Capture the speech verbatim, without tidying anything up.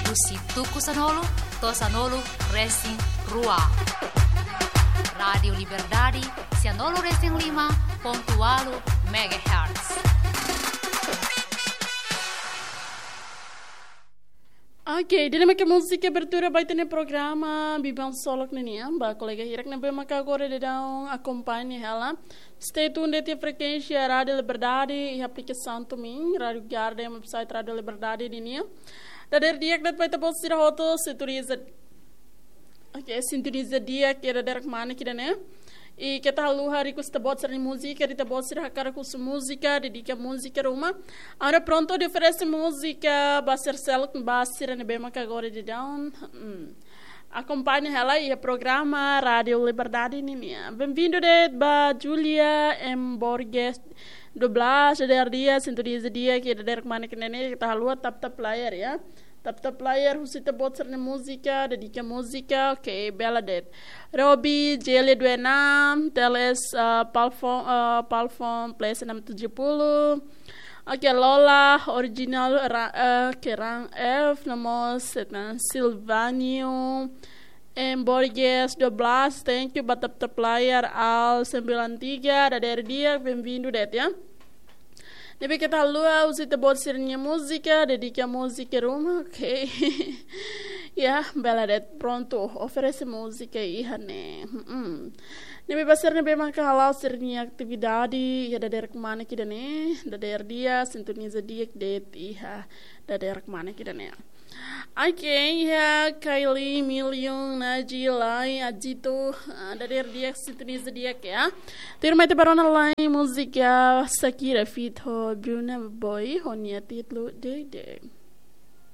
Husi tuku sanulu to'o sanulu resin rua. Rádiu Liberdade, sianulu resin lima pontu ualu megahertz. Ok, ida-ne'e mak múzika abertura ba ita-nia programa Biban Solok ninian, ba kolega hirak ne'ebé maka agora daudaun akompaña hela. Stay tuned de'it iha frekuénsia Rádiu Liberdade, iha aplikasaun Tumin, Rádiu Garden, website Rádiu Liberdade ninian. Dadeer di'ak de'it ba ita-boot sira hotu, sintoniza. Ok, sintoniza di'ak iha dadeer-rua ne'e, kira-ne'e. I keta haluha request ita-boot sira-nia múzika, ita-boot sira hakarak husu múzika, dedika múzika ruma. Agora prontu atu oferese múzika ba sira seluk, ba sira ne'ebé maka agora daudaun. Hmm. Akompaña hela iha programa Rádiu Liberdade ninian. Benvindu de'it ba Julia M Borges doblás, dadeer di'ak, sintoniza di'ak iha dadeer-rua ne'e, keta haluha tap tap layar ya. Tap tap layar, husu ita-boot sira-nia múzika, dedika múzika, ok, bela de'it. Robi, Jelia Duenam, Teles, ah, Palfon, ah, Palfon, Place enam tujuh puluh. Ok, Lola, original, ra, eh, Kerang F, nomor setan, Silvanio, M Borges doblás, thank you, ba tap tap layar, Al sembilan tiga, dadeer di'ak, benvindu de'it ya. Ne'ebé keta haluha husu ita-boot sira-nia múzika, dedika múzika ruma, ok. Ya, bela de'it prontu, oferese múzika iha ne'e. Hmm. Ne'ebé ba sira ne'ebé maka hala'o sira-nia atividade, iha dadeer-rua ne'e kira-ne'e, dadeer di'ak, sintoniza di'ak de'it iha dadeer-rua ne'e kira-ne'e. Ok, iha Kylie, Million, Naji, Lai, Ajito, ah, dadeer di'ak, sintoniza di'ak ya. Tuirmai ita bá rona lai múzika Shakira feat ho Burna Boy, ho nia títulu Dede.